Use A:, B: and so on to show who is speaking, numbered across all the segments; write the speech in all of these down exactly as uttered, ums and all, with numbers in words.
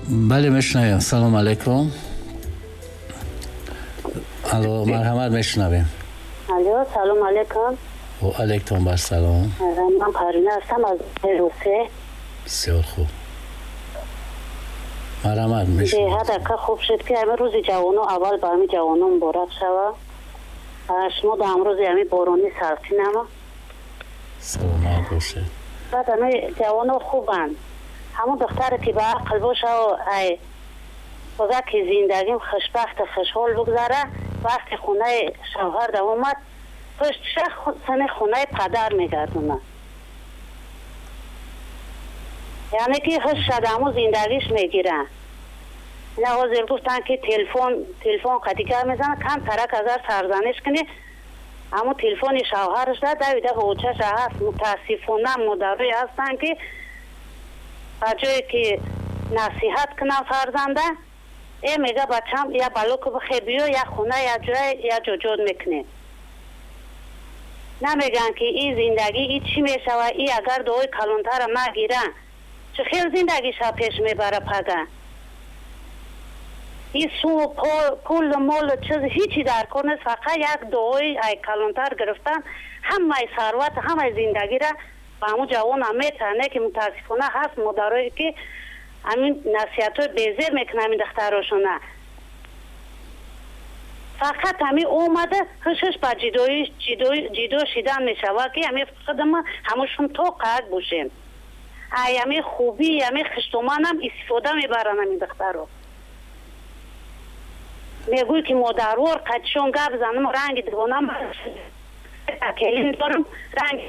A: Бале, мешунавем. Салом алейкум. Алло, марҳамат, мешунавем.
B: Алло, салом алейкум.
A: Ва алейкум ассалом.
B: Ман Парина ҳастам аз Русия.
A: Бисёр хуб. Марҳамат, мешунавем.
B: Беҳад ака хуб шуд ки ҳамин рӯзи ҷавонон аввал ба ҳамин ҷавонон муборак шава. Шумо ба ҳамрӯзи ҳамин борони салқинама.
A: Саломат бошед.
B: Баъд ҳамин ҷавонон хубанд. Ҳамон духтаре ки ба ақл боша ай бага ки зиндагим хушбахт хушҳол бигзара, вақти хонаи шавҳар да омад, пуштша сани хонаи падар мегардонад. Яъне ки ҳушша да ҳамон зиндагиш мегира. Ина ҳозир гуфтанд ки телефон телефон қади гап мезанад, кам тарак агар сарзаниш кунӣ, ҳамон телефони шавҳараш да давида ба очаша ҳаст. Мутаассифона модарое ҳастанд ки ба ҷое ки насиҳат кунам фарзанда, э мега бачам я балоку бихе биё, я хона, я ҷой, я ҷоҷод мекунем. Намегӯянд ки ин зиндагӣ и чӣ мешава, и агар дуои калонтара нагира, чӣ хел зиндагиша пеш мебара пага. И су пул мол чиз ҳичи дар кор нест, фақат як дуои ай калонтар гирифтан ҳамаи сарват, ҳамаи зиндагира ба ҳамун ҷавонам метавонад. Не ки мутаассифона ҳаст модарое ки ҳамин насиҳатҳои безеб мекунанд ҳамин духтарошона. Фақат ҳамин омада ҳушаш ба ҷидоӣ ҷидо шидан мешавад ки ҳамин худама ҳамушон то қад бошем. Ай ҳамин хубӣ, ҳамин хиштоманам истифода мебаранд ҳамин духтаро. Мегӯй ки модарвор қадшон гап занам, ранги дивонам келин дорам, ранги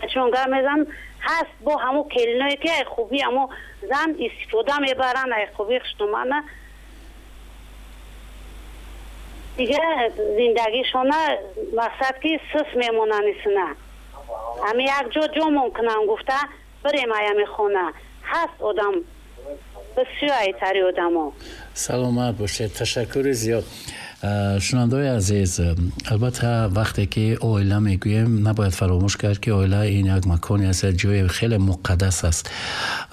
B: қадшон гап мезанам. Ҳаст бо ҳамун келиное ки ай хубӣ ҳамун зан истифода мебаранд, ай хубии хиштомана. Дига зиндагишона мақсад ки сус мемонанд исина. Ҳами як ҷо ҷомон кунам гуфта бирем ай ҳами хона. Ҳаст одам бисёр айтари одамо.
A: Саломат бошед, ташаккури зиёд. Шунавандаои азиз, албатта вақте ки оила мегӯем, набояд фаромӯш кард ки оила ин як маконе аст, як ҷои хеле муқаддас аст.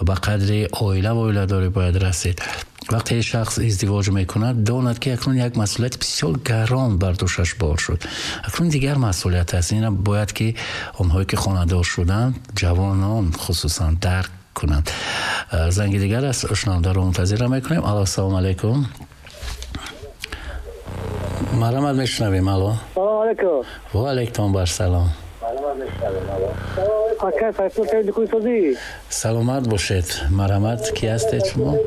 A: Ба қадри оила ва оиладорӣ бояд расид. Вақте шахс издивоҷ мекунад, донад ки акнун як масъулияти бисёр гарон бар дӯшаш бор шуд. Акнун дигар масъулият аст. Ина бояд ки онҳое ки хонадор шуданд, ҷавонон хусусан дарк кунанд. Занги дигар аст, шунавандаро мунтазира мекунем. Алло, ассалому алайкум. Марҳамат, мешунавем. Алло.
C: Салом алайкум.
A: Ва алайкум ассалом.
C: Ака, Сайфулло Кайдикуй.
A: Саломат бошед. Марҳамат, ки ҳастед шумо?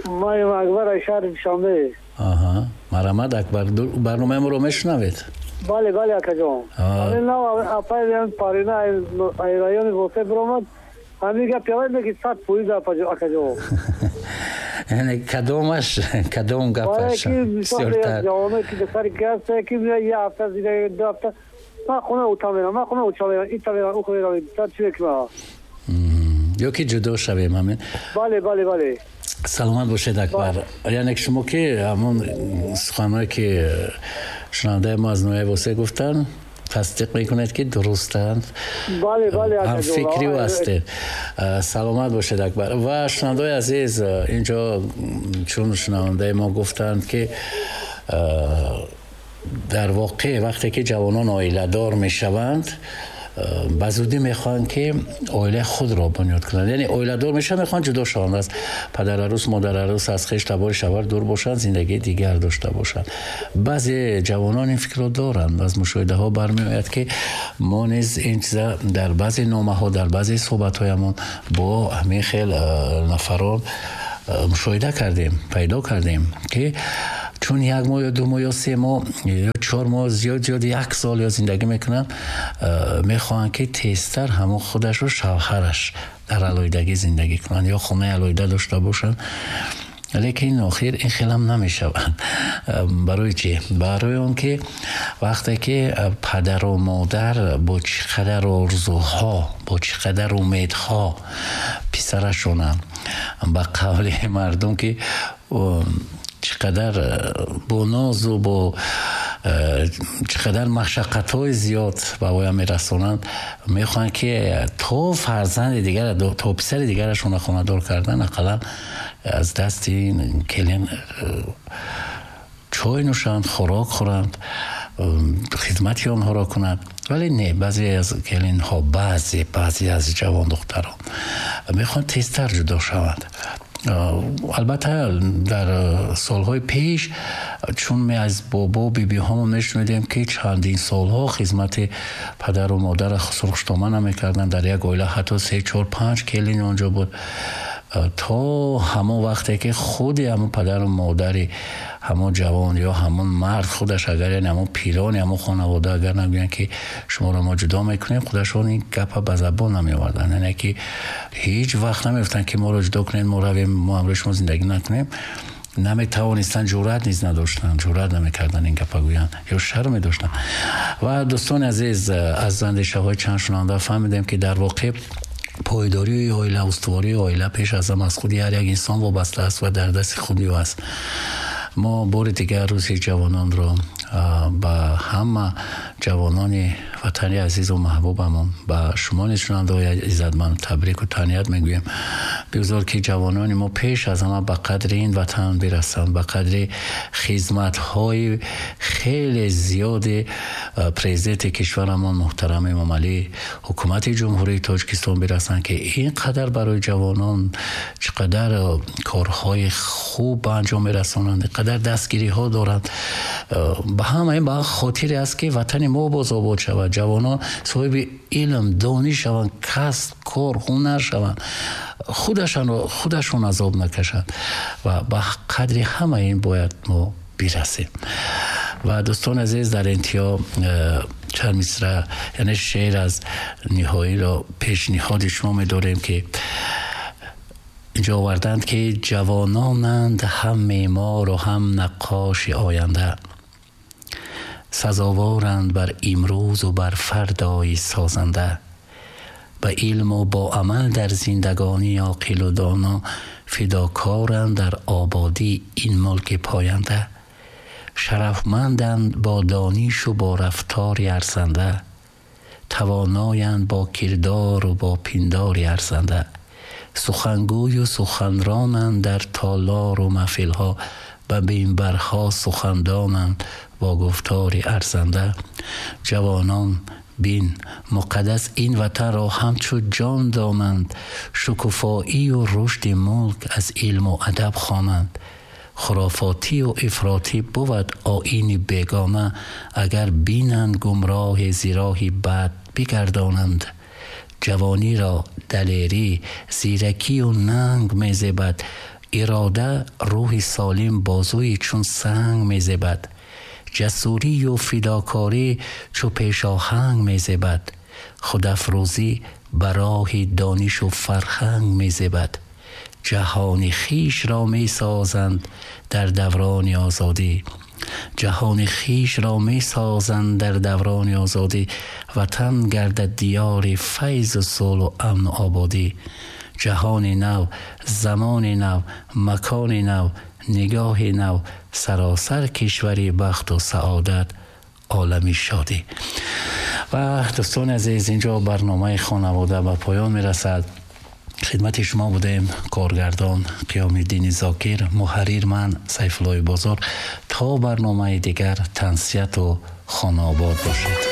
C: Ман Акбар аз шаҳри Душанбе.
A: Аҳа, марҳамат Акбар, барномаи моро мешунавед?
C: Бале, бале акаҷон. Ҳамин нав апай Парина ай райони Восе биромад. Ҳамин гап явай меги сад фоиз акаҷон.
A: Яъне кадомаш, кадом гапаш?
C: Бисёртар. Ҷавоное ки духтари ки ҳаст, ки як ҳафта зиндагӣ, ду ҳафта ман хона ута мерам, ман хона уча мерам, ита мерам, ухо мерам, чӣ мекунам?
A: Ё ки ҷудо шавем, ҳамин?
C: Бале, бале, бале.
A: Саломат бошед Акбар. Яъне шумо ки ҳамон суханҳое ки шунавандаи мо аз ноҳияи Восе гуфтанд, тасдиқ мекунед ки дурустанд.
C: Бале, бале,
A: ҳамфикри ӯ ҳастед. Саломат бошед Акбар. Ва шунавандаои азиз, инҷо чун шунавандаи мо гуфтанд ки дар воқеъ вақте ки ҷавонон оиладор мешаванд, ба зудӣ мехоҳанд ки оилаи худро бунёд кунанд. Яъне оиладор мешаванд, мехоҳанд ҷудо шаванд аз падарарӯс, модарарӯс, аз хеш табори шавҳар дур бошанд, зиндагии дигар дошта бошанд. Баъзе ҷавонон ин фикрро доранд. Аз мушоҳидаҳо бармеояд ки мо низ ин чиза дар баъзе номаҳо, дар баъзе суҳбатҳоямон бо ҳамин хел нафарон мушоҳида кардем, пайдо кардем ки чун як моҳ ё ду моҳ ё се моҳ ё чор моҳ, зиёд зиёд як сол ё зиндагӣ мекунанд, мехоҳанд ки тезтар ҳамон худашро шавҳараш дар алоҳидагӣ зиндагӣ кунанд ё хонаи алоҳида дошта бошанд. Лекин охир ин хелам намешавад. Барои чӣ? Барои он ки вақте ки падару модар бо чӣ қадар орзуҳо, бо чӣ қадар умедҳо писарашона ба қавли мардум ки чӣ қадар бо нозу бо чӣ қадар машаққатҳои зиёд ба воя мерасонанд, мехоҳанд ки то фарзанди дигар, то писари дигарашонро хонадор кардан, ақаллан аз дасти ин келин чой нӯшанд, хӯрок хӯранд, хидмати онҳоро кунанд. Вале не, баъзе аз келинҳо, баъзе баъзе аз ҷавондухтарон мехоҳанд тезтар ҷудо шаванд. Албатта дар солҳои пеш, чун ме аз бобо бибиҳомон мешунидем, ки чандин солҳо хизмати падару модарро сурхуштома намекарданд, дар як оила ҳатто се чор панҷ келин онҷо буд, то ҳамон вақте ки худи ҳамон падару модари ҳамон ҷавон ё ҳамон мард худаш, агар яъне ҳамон пирони ҳамон хонавода агар нагӯянд ки шуморо мо ҷудо мекунем, худашон ин гапа ба забон намеоварданд. Яъне ки ҳеҷ вақт намегуфтанд ки моро ҷудо кунед, мо равем, мо ҳамроҳи шумо зиндагӣ накунем. Наметавонистанд, ҷуръат низ надоштанд, ҷуръат намекарданд ин гапа гӯянд ё шарм медоштанд. Ва дӯстони азиз, аз андешаҳои чанд шунаванда фаҳмидем, ки дар воқеъ пойдории оила, устувории оила пеш аз ҳама аз худи ҳар як инсон вобаста аст ва дар дасти худи ӯ аст. Мо бори дигар рӯзи ҷавононро ба ҳама ҷавонони ватани азизу маҳбубамон, ба шумо низ шунавандаҳои иззатманд табрику таҳният мегӯем. Бигзор ки ҷавонони мо пеш аз ҳама ба қадри ин ватан бирасанд, ба қадри хизматҳои хеле зиёди президенти кишварамон муҳтарам Эмомалӣ, ҳукумати Ҷумҳурии Тоҷикистон бирасанд, ки ин қадар барои ҷавонон чӣ қадар корҳои хуб ба анҷом мерасонанд, ин қадар дастгириҳо доранд. Ба ҳама ин ба хотире аст, ки ватани мо боз обод шавад, ҷавонон соҳиби илм, дониш шаванд, касб, кор, ҳунар шаванд, худашонро худашон азоб накашанд ва ба қадри ҳама ин бояд мо бирасем. Ва дӯстони азиз, дар интиҳо чанд мисра, яъне шеър аз ниҳоиро пешниҳоди шумо медорем, ки инҷо оварданд, ки ҷавононанд ҳам меъмору ҳам наққоши оянда, сазоворанд бар имрӯзу бар фардои созанда, ба илму бо амал дар зиндагонӣ оқилу доно, фидокоранд дар ободии ин мулки поянда, шарафманданд бо донишу бо рафтори арзанда, тавоноянд бо кирдору бо пиндори арзанда, сухангӯю суханронанд дар толору маҳфилҳо, ба минбарҳо сухандонанд бо гуфтори арзанда. Ҷавонон бин муқаддас ин ватанро ҳамчу ҷон донанд, шукуфоию рушди мулк аз илму адаб хонанд. Хурофотию ифротӣ бувад оини бегона, агар бинанд гумроҳи зироҳи бад бигардонанд. Ҷавониро далерӣ, зиракию нанг мезебад, ирода рӯҳи солим бозуи чун санг мезебад, ҷасурию фидокорӣ чу пешоҳанг мезебад, худафрӯзӣ ба роҳи донишу фарҳанг мезебад. Ҷаҳони хишро месозанд дар даврони озодӣ, ҷаҳони хишро месозанд дар даврони озодӣ, ватан гардад диёри файзу сулҳу амну ободӣ. Ҷаҳони нав, замони нав, макони нав, нигоҳи нав, саросар кишвари бахту саодат, олами шодӣ. Ва дӯстони азиз, инҷо барномаи хонавода ба поён мерасад. Хидмати шумо будем коргардон Қиёмиддини Зокир, муҳаррир ман Сайфуллои Бозор. То барномаи дигар тансияту хонаобод бошед.